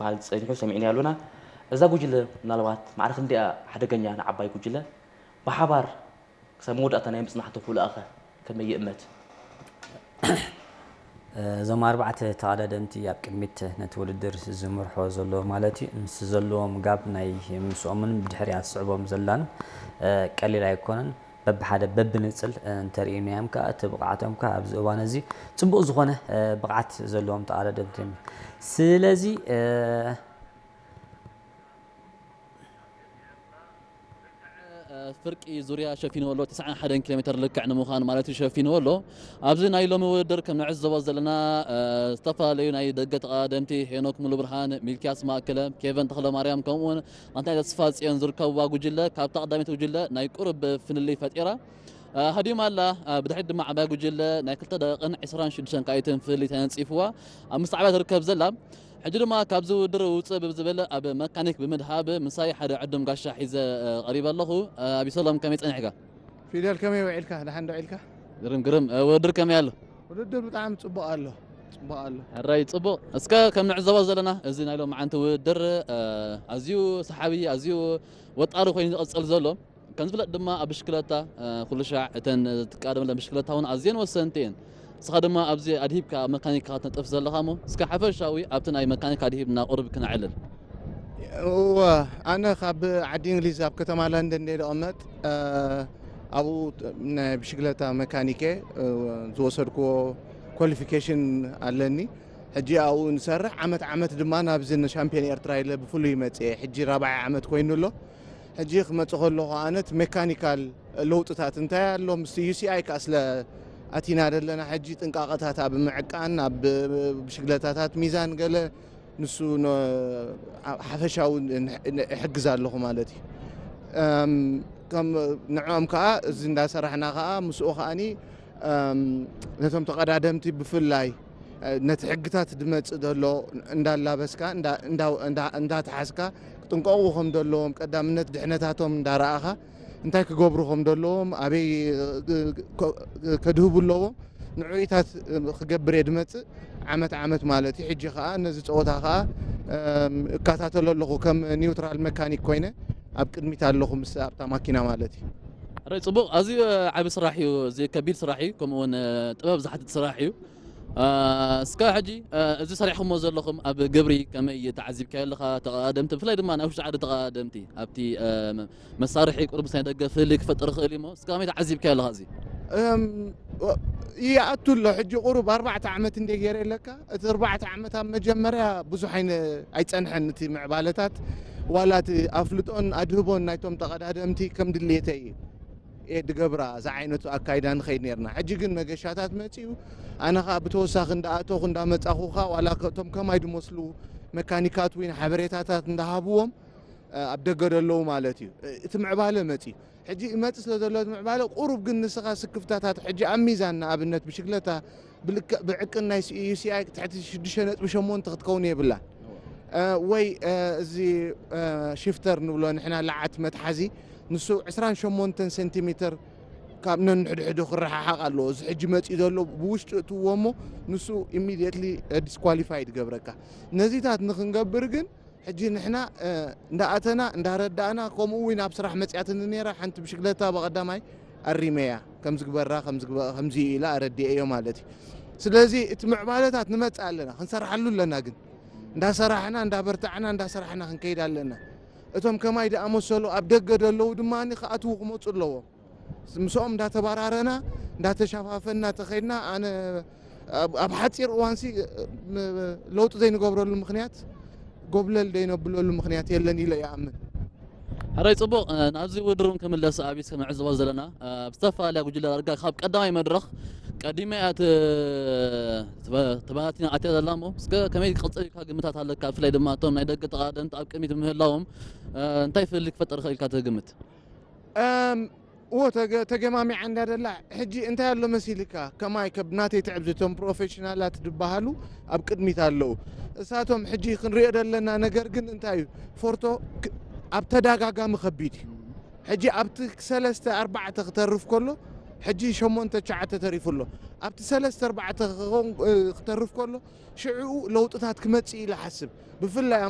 ክበሃል ጸኒሑ ሰሚዕናዮ ኣሎና። እዛ ጉጅለ ምናልባት ማዕረ ክንደይ እያ ሓደገኛ ንዓባይ ጉጅለ? ብሓባር ክሳብ መወዳእታ ናይ ምጽናሕ ተኽእሎኣ ከ ከመይ ይእመት? እዞም ኣርባዕተ ተቐዳደምቲ ኣብ ቅድሚት ነቲ ውድድር ዝምርሖ ዘሎ ማለት እዩ። ምስ ዘለዎም ጋብ ናይ ምስኦምን ብድሕሪኣ ዝስዕቦም ዘላን ቀሊል ኣይኮነን። በብሓደ በብንጽል እንተርኢናዮም ከኣ እቲ ብቕዓቶም ከኣ ኣብዚ እዋን እዚ ጽቡቕ ዝኾነ ብቕዓት ዘለዎም ተቐዳደምቲ እዮም። ስለዚ ፍርቂ ዙርያ ሸፊንዎ ኣሎ። ትስዓን ሓደን ኪሎ ሜተር ልክዕ ንምዃን ማለት እዩ ሸፊንዎ ኣሎ። ኣብዚ ናይ ሎሚ ውድድር ከም ንዕዘቦ ዘለና ዝተፈላለዩ ናይ ደገ ተቐዳደምቲ ሄኖክ ሙሉብርሃን፣ ሚልኪያስ ማእከለ፣ ኬቨን ተኽለማርያም ከምኡውን ኣንታይ ተስፋ ጽዮን ዝርከብዋ ጉጅለ ካብታ ቀዳመይቲ ጉጅለ ናይ ቁሩብ ፍልልይ ፈጢራ ሃዲማ ኣላ። ብድሕሪት ድማ ዓባይ ጉጅለ ናይ ክልተ ደቂቕን ዕስራን ሽዱሽተን ካኢትን ፍልልይ ተነጺፍዋ ኣብ ምስዓባ ትርከብ ዘላ። ሕጂ ድማ ካብዚ ውድድር ውፅእ ብዝብል ኣብ መካኒክ ብምድሃብ ምሳይ ሓደ ዕዱም ጋሻ ሒዘ ቀሪበ ኣለኹ። ኣቢሰሎም ከመይ ፀኒሕካ? ፊደል ከመይ ውዒልካ? ደሓን ዶ ውዒልካ? ግርም ግርም። ውድድር ከመይ ኣሎ? ውድድር ብጣዕሚ ፅቡቕ ኣሎ። ፅቡቕ ኣሎ። ሕራይ ፅቡቕ። እስከ ከም ንዕዘቦ ዘለና እዚ ናይ ሎማዓንቲ ውድድር ኣዝዩ ሰሓቢ ኣዝዩ ወጣሪ ኮይኑ ዝቕፅል ዘሎ ከም ዝፍለጥ ድማ ኣብ ብሽክለታ ኩሉ ሻዕ እተን ትቃደመለን ብሽክለታ እውን ኣዝየን ወሰንቲ እየን። ንስኻ ድማ ኣብዚ ኣድሂብካ ኣብ መካኒካ ክትነጥፍ ዘለኻ እሞ እስከ ሓፈሻዊ ኣብቲ ናይ መካኒካ ኣድሂብና ቁሩብ ክነዕልል። እወ ኣነ ካብ ዓዲ እንግሊዝ ኣብ ከተማ ለንደን እየ ዝቕመጥ። ኣብኡ ናይ ብሽክለታ መካኒክ እየ። ዝወሰድክዎ ኳሊፊኬሽን ኣለኒ። ሕጂ ኣብኡ ንሰርሕ ዓመት ዓመት ድማ ናብዚ ንሻምፒዮን ኤርትራ ኢለ ብፍሉይ መፅየ። ሕጂ ራብዓይ ዓመት ኮይኑ ኣሎ። ሕጂ ክመፅእ ከለኹ ኣነ እቲ ሜካኒካል ለውጥታት እንታይ ኣሎ ምስቲ ዩ ሲ ኣይ ከዓ ስለ ኣቲና ዘለና ሕጂ ጥንቃቐታት ኣብ ምዕቃን ኣብ ብሽግለታታት ሚዛን ገለ ንሱ ሓፈሻዊ ይሕግዝ ኣለኹ ማለት እዩ። ከም ንዕኦም ከዓ እዚ እንዳሰራሕና ከዓ ምስኡ ከዓኒ ነቶም ተቐዳደምቲ ብፍላይ ነቲ ሕግታት ዝመፅእ ዘሎ እንዳላበስካ እንዳተሓዝካ ክጥንቀቑ ከም ዘለዎም ቀዳምነት ድሕነታቶም እንዳረኣኻ እንታይ ክገብሩ ከም ዘለዎም ኣበይ ከድህቡ ኣለዎም ንዕኡታት ክገብር እየ ዝመፅእ ዓመት ዓመት ማለት እዩ። ሕጂ ከዓ ነዚ ፀወታ ከዓ እከታተሎ ኣለኹ ከም ኒውትራል መካኒክ ኮይነ ኣብ ቅድሚት ኣለኹ ምስ ኣብታ ማኪና ማለት እዩ። ሕራይ ፅቡቕ። ኣዝዩ ዓቢ ስራሕ እዩ። እዚ ከቢድ ስራሕ እዩ። ከምኡ እውን ጥበብ ዝሓትት ስራሕ እዩ። እስከ ሕጂ እዚ ሰሪሕኹሞ ዘለኹም ኣብ ግብሪ ከመይ ተዓዚብካዮ ኣለኻ? ተቐዳደምቲ ብፍላይ ድማ ናይ ውሽጢ ዓዲ ተቐዳደምቲ ኣብቲ መሳርሒ ቁሩብ ምስ ናይ ደገ ፍልልይ ክፈጥር ይኽእል እዩ እሞ እስከ ከመይ ተዓዚብካዮ ኣለኻ እዚ? ይኣቱ ኣሎ ሕጂ ቁሩብ ኣርባዕተ ዓመት እንደ ገይረ ኣለካ እቲ ኣርባዕተ ዓመት ኣብ መጀመርያ ብዙሕ ኣይፀንሐን እቲ ምዕባለታት ዋላ እቲ ኣፍልጦን ኣድህቦን ናይቶም ተቐዳደምቲ ከም ድሌተይ እየ ድገብራ እዛ ዓይነቱ ኣካይዳ ንኸይድ ነርና ሕጂ ግን መገሻታት መፅኡ ኣነ ከዓ ብተወሳኺ እንዳኣተኹ እንዳመፃኹ ከዓ ዋላ እቶም ከማይ ድመስሉ መካኒካት ወይ ሓበሬታታት እንዳሃብዎም ኣብ ደገ ደለዉ ማለት እዩ እቲ ምዕባለ መፅዩ ሕጂ ይመፅእ ስለ ዘሎ እቲ ምዕባለ ቁሩብ ግን ንስኻ ስክፍታታት ሕጂ ኣብ ሚዛን ንኣብነት ብሽግለታ ብልክዕ ብዕቅን ናይ ዩሲኣይ ትሕቲ ሽዱሽተ ነጥቢ ሸሞንተ ክትከውን የብላ ወይ እዚ ሽፍተር ንብሎ ንሕና ለዓት መትሓዚ ንሱ ዕስራን ሸሞንተን ሴንቲሜተር ካብ ነንሕድሕዱ ክረሓሓቕ ኣለዎ እዚ ሕጂ መፅኡ ዘሎ ብውሽጢ እትዎ እሞ ንሱ ኢሚድየትሊ ዲስኳሊፋይ ትገብረካ ነዚታት ንክንገብር ግን ሕጂ ንሕና እንዳኣተና እንዳረዳእና ከምኡ እውን ኣብ ስራሕ መፅያትኒ ነይራ ሓንቲ ብሽግለታ ብቐዳማይ ኣሪመያ ከምዝግበራ ከምዚ ኢላ ኣረዲኤዮ ማለት እዩ ስለዚ እቲ ምዕባለታት ንመፅእ ኣለና ክንሰርሓሉ ኣለና ግን እንዳሰራሕና እንዳበርታዕና እንዳሰራሕና ክንከይድ ኣለና እቶም ከማይ ዝኣመሰሉ ኣብ ደገ ዘለዉ ድማ ክኣትዉ ክመፁ ኣለዎም ምስኦም እንዳተባራረና እንዳተሸፋፈና ተኸድና ኣነ ኣብ ሓፂር እዋንሲ ለውጢ ዘይንገብረሉ ምክንያት ጎብለል ዘይነብለሉ ምክንያት የለን ኢለ ይኣምን ሕራይ ፅቡቕ ናብዚ ውድድር እውን ክምለስ ኣቢስ ከም ንዕዘቦ ዘለና ኣብ ዝተፈላለያ ጉጅለ ዳርጋ ካብ ቀዳማይ መድረኽ ቀዲመ እያ ተባታቲና ኣትያ ዘላ እሞ እስከ ከመይ ክቕፅል ኢልካ ግምታት ኣለካ ብፍላይ ድማ እቶም ናይ ደገ ተቐዳደምቲ ኣብ ቅድሚት ምህላዎም እንታይ ፍልልይ ክፈጠር ይኽእል ኢልካ ትግምት እዎ ተገማሚዓ እንዳ ደላ ሕጂ እንታይ ኣሎ መሲልካ ከማይ ከብ ናተይ ትዕብቲ እቶም ፕሮፌሽናላት ዝበሃሉ ኣብ ቅድሚት ኣለዉ እሳቶም ሕጂ ክንሪኦ ዘለና ነገር ግን እንታይ እዩ ፎርቶ ኣብ ተዳጋጋሚ ከቢድ እዩ ሕጂ ኣብቲ ሰለስተ ኣርባዕተ ክተርፍ ከሎ ሕጂ ሸሞንተ ትሽዓተ ተሪፉ ኣሎ ኣብቲ ሰለስተ ኣርባዕተ ክተርፍ ከሎ ሽዕኡ ለውጥታት ክመፅእ ኢለ ሓስብ ብፍላይ